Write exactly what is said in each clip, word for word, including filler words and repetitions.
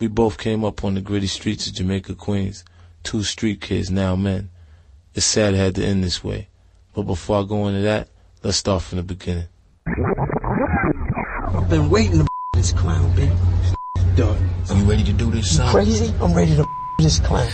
We both came up on the gritty streets of Jamaica, Queens. Two street kids, now men. It's sad it had to end this way. But before I go into that, let's start from the beginning. I've been waiting to this clown, big dog. You ready to do this, son? Crazy? I'm ready to this clown.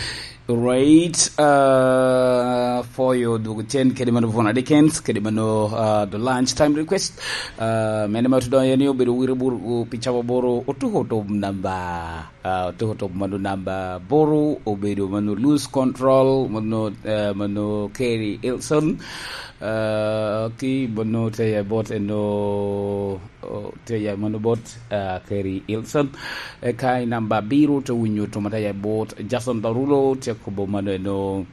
Right, uh, for your dugu chen kedi mano Vona Dickens, kedi mano, uh, the lunch time request. Uh, mene ma tudo yani obedo wiri buru pi chabo boro otuko to namba, uh, otuko to mano namba boro obedo mano lose control mano, uh, mano Kerry Ilson. Uh, ki mano te ya bot eno, oh, te ya mano bot, uh, Kerry Ilson. Eka i namba biro te winyo to mata ya bot Jason Darulo te kobo mano eno,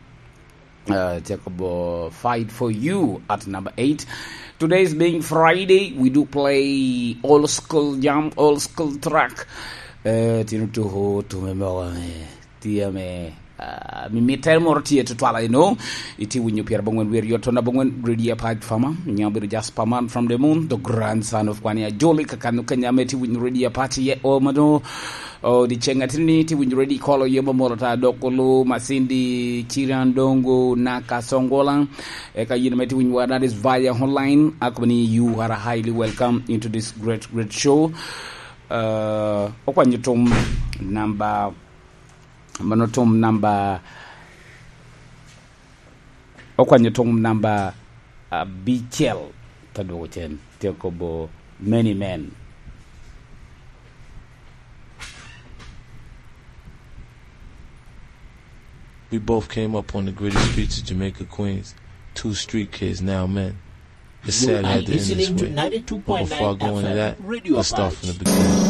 uh, te kobo fight for you at number eight. Today is being Friday, we do play old school jam, old school track. Uh, tino tuho tume mogo me, tye me, uh, mi mittere moro tye tutwal eno. Iti winyo pyera bongwen wer yot tona bongwen radio apac fama. Nyam bedo just paman from the moon, the grandson of Kwani Ajoli kakano kanyame ti winyo radio apac ye o mano. O di chenga tini ti winyo radio kolo yo mamoro ta dok olo masindi chiran dongo naka songola. Eka yin me ti winyo wa that is via online. Akubani you are highly welcome into this great, great show. Uh, okwanyo tum namba, mano tum namba, okwanyo tum namba abicel, ta dwoko cen, tye kobo many men. We both came up on the gritty streets of Jamaica, Queens. Two street kids, now men. It's sad it had to end this way. But before I go into that, let's start from the beginning.